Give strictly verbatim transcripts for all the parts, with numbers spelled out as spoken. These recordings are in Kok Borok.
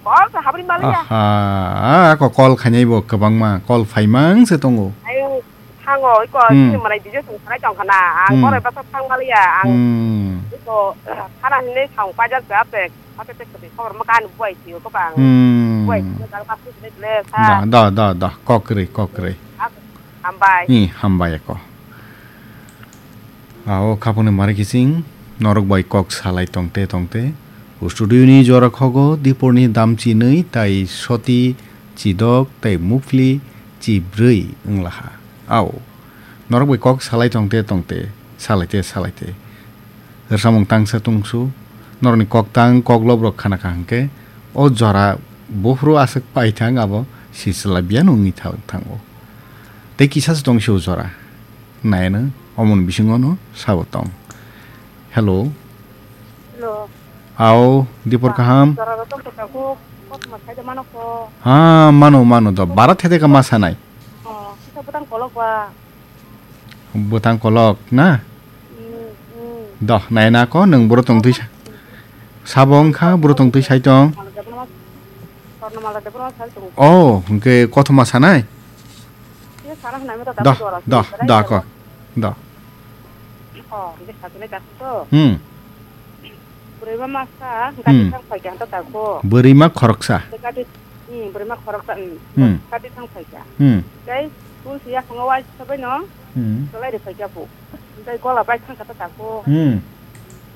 Call se habri maliya. Aha, ako call khainai bo kwbangma, call phaimang se tongo. Ayo, thango, iko Hmm. sini malai video song khanai tong khana. Ang Hmm. borai basa thang maliya, ang Hmm. iko, khana hinwi thang paijak se apek. Apek tek tek khobor ma kan buai thiyo ko bang. Hmm. Buai thiyo dal kasu le le sa. Da, da, da, da, kok kwrwi, kok kwrwi. Hambai. Hi, hambai ako. Ao khaponi mari kising, norok bai kok salai tongte tongte. Studio ni jora khogo, Dipor ni dam chinwi, tai soti, chidok, tai mupli, chibrwi wnglaha. Ao, norok bai kok salai tongte tongte, salaite salaite. Rwsamung tangsa tongsu, norokni kok tang, kok lob rok khana kha hwnkhe, o jora buphuru aswk pai thang abo, sisla biyan wngwi tha-, thango. Tei kisa se tong se o jora. Naino, omon bisingo no sabo tong. Hello. Hello. Ao, Dipor kaham? Jora rok tong tong ko, kosma sai de mano ko. Ha, mano, mano do. Bara thede ka ma sanai. Oh, kita butang kolok ba. Butang kolok na? Hmm, hmm. Do, naina ko, nung buro tong twi sa-, sabo wngkha, buro tong twi sai tong. Mala de bro, Swarna mala de bro, sai tong. Oh, hwnkhe kothoma sanai? Ye sana hwnai mo ta Do, jora do, se, do, ko. Do. Oh, hwnkhe sakile ta to. Hmm. Bwrwi ma masa, Hmm. gati thang phai kha ta ko. Bwrwi ma khoroksa. Gati, hmm, bwrwi ma khoroksa, hmm. Hmm. Gati thang phai kha. Hmm. Tei tulsi ya khongo wai sabai no. Hmm. Tolai de phai kha bu. Tei gola bai thang kha ta ko. Hmm.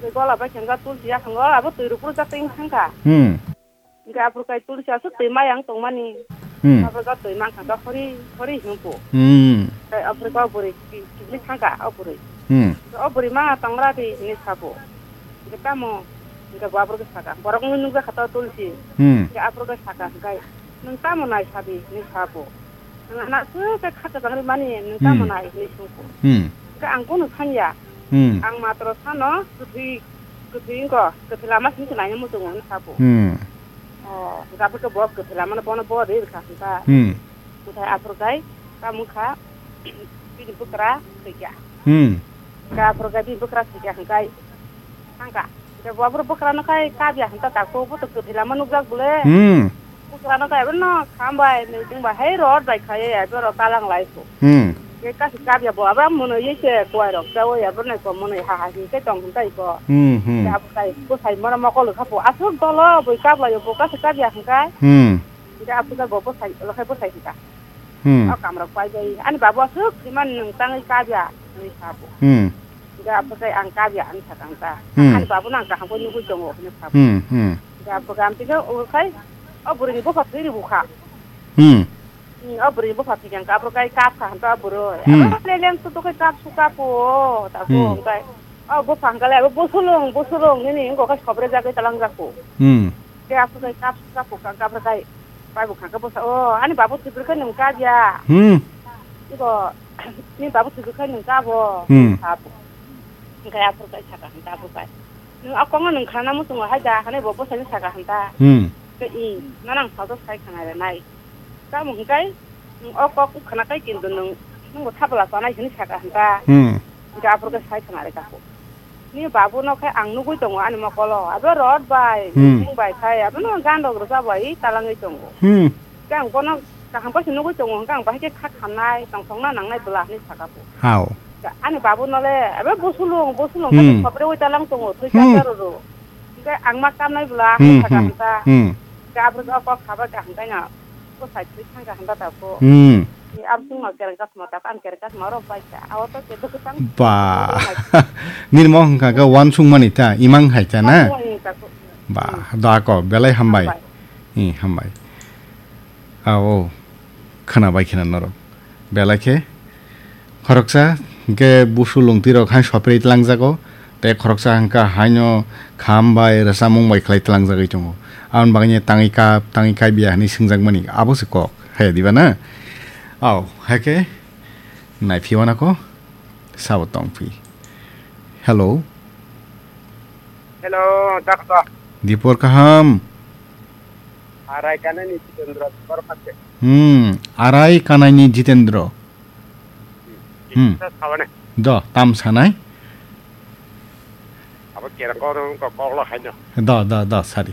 Tei gola bai thang kha tulsi ya khongo abo twi rupru ja teng thang kha. Hmm. Hingke aphuru kai tulsi aswk twi mayang tongmani. Hmm. Aphuru kai twi mankha khe hori, hori hwnpo. Hmm. Tei aphuru kai o bwrwi ki-, kibni thangkha o bwrwi. Hmm. O bwrwi ma tongra di hinwi sabo. Hingke tamo, hingke bo aphuru khe saka, borok wngwi nukjakha to tulsi. Hmm. Hingke aphuru kai saka hingkai, "Nwng tamo nai sadi?" hinwi sabo. Nwng ano aswk khe kha kwchang rimani, nwng tamo Hmm. nai hinwi swngkho. Hmm. Hwnkhe ang bono sanya. Hmm. Ang matro sano kwthwi, kwthwi wngkha, kwthwi lama simi se naina muchungo hinwi sabo. Hmm. O, hwnkhe aphuru khe bo kwthwi lamano bono bo ri rwkha hwnkha. Hmm. Hwnkhe aphuru khai tamo wngkha bini bwkra thwikha. Hmm. Hwnkhe aphuru khai bini bwkra thwikha hwnkhe thangkha. Hwnkhe bo aphuru bwkrano khai kabya hwnkha tako, bo to kwthwi lama nukjak bole. Hmm. Bwkrano khe abono khambai, nui chwngbai hai rot bai khaiwi abo rok talang lai kho. Hmm. Khe kasi kabya bo abo mwnwi se kuwai rok chaui abo nai ko mwnwi ha ha hinke tong hintai ko. Hmm, hmm. Khe abo tai bwsai mora mokol kha po aswk dolo bui kablai bo kasi kabya hinkai. Hmm. Khe abo khe bo bwsai lo khai bwsai hinka. Hmm. O kam rok pai bai ani babu aswk thwiman nwng tangwi kabya hinwi sa bo. Hmm. Hingke aphuru khe ang kabya hinwi sakha hwnta. Hmm. Ani babuno ang kaham khe nugwi tongo hinwi sakha. Hmm, hmm. Hingke aphuru khe ang tini ukhai o bwrwini bupha thwi rw bukha. Hmm. Hmm, o bwrwini bupha thwi khe ang aphuru khe kapkha hwnta o bwrwi. Hmm. Abo leleng sudo khe kap su kapo, tako Hmm. hwnkhe o bupha hwnkhe le abo busulung, busulung nini wngkha khe sobrejagwi talangjak kho. Hmm. Khe aphuru khe kap su kapo, kap, kap khe bai bukha khe bwsa, "O, ani babu thwi bwrwi khe nwng kabya." Hmm. Iko, "Ni babu thwi bwrwi khe nwng kabo?" Hmm. Kabo. Hingke aphuru kai saka hwnta aphuru kai. Nwng a kongno nwng khana muchungo hai da, hanai bo bwsani saka hwnta. Hmm. Ke i, nang salto sai khana re nai. Tamo hingkai, nwng o kok khana kai kintu nwng, nwng bo thabla sanai hwnwi saka hwnta. Hmm. Hingke aphuru kai sai khana re kako. Ni babu no khe ang nugwi tongo ani mokolo. Abo rot bai, Hmm. bising bai khai, abono gan rok rwcha bai talangwi tongo. Hmm. Khe ang bono kaham khe se nugwi tongo, hwnkhe ang bahai khe kha khamnai, tongthokna nangnai bwla hinwi saka bo. Hao. Ani babu no le, abo busulung, busulung Hmm. khe sobre wi talang tongo, thwi Hmm. char char ro. Hwnkhe ang ma kamnai bwla Hmm, hinwi saka hmm, hwnta. Hmm. Khe abo khe o kok kha bai kaham khe no, bwsai thwi thang kaham ta tabuk. Hmm. Ni abo chwngno kereng kasma tak, ang kereng kasma oro bai kha. Abo to kebo kwchang. Ba. Nini mo hwnkha khe uansukmani ta, imang hai ta na? Uansukmani ta ko. Ba, Hmm. da ko, belai hambai. Hambai. Hi, hambai. Ao, khwnabai khwna norok. Belai khe khoroksa hwnkhe busu lungtwi rok hai sopri tlangjago, tei khoroksa hwnkha haino kham bai rwchapmung bai khlai tlangjagwi tongo. Aboni bagwi tangwi kap, tangwi kaibiya hinwi swngjakmani abo se kok, hai diba na? Ao, hai khe naiphi wanako sabo tongphi. Hello. Hello, doctor. Dipor kaham. Arai kanani Jitendra, Dipor khatte. Hmm, arai kanani Jitendra. Hmm. Kisa sabane. Do, tam sanai. Abo kera kok, kok, kok lo haino. Do, do, do, sari.